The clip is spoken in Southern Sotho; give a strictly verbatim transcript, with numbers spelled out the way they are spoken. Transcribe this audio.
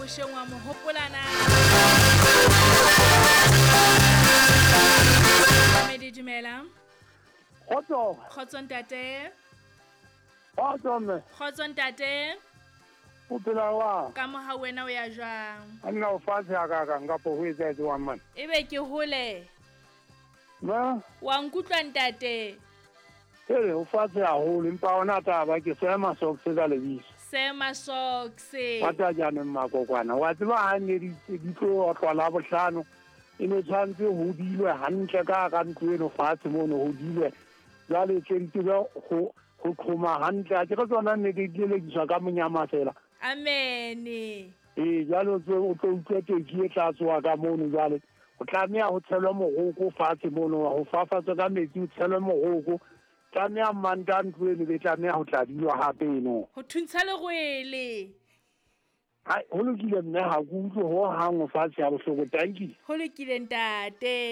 bosheng wa mo hopola na? Mamedi dumela. Kgotso. Kgotso ntate. Kgotso mme. Kgotso ntate. O phela jwang? Ka moha wena o ya jwang? Nna o fatshe ha ka kang kapo ho etsahetse wa mane. Ebe ke hole. Ma? Wa nkutlwa ntate? Ee, o fatshe haholo empa ona taba ke Sema Socks ka lebitso. Sema Socks. Wa jaanong makokwana. Wa tseba ha ne di di tlo otlwa la bohlano. E ne tshwanetse ho dilwe hantle ka ka ntlo eno fatshe mono ho dilwe. Jwale tse di tsebe ho ho qhoma hantle. Ha ke re tsona ne di lelekiswa ka monyama fela. Amen. Ee, jwale o tlo o tlo utlwa teki e tla tsoha ka mono jwale. O tlameha ho tshelwa moroko fatshe mono, ho fafatswa ka metsi ho tshelwe moroko. Tlameha manta ntlo eno be tlameha ho tla dilwa hape eno. Ho thuntsha lerwele. Hai, ho lokile mme ha ke utlwe ho hang fatshe ha bohloko. Tanki. Ho lokile ntate.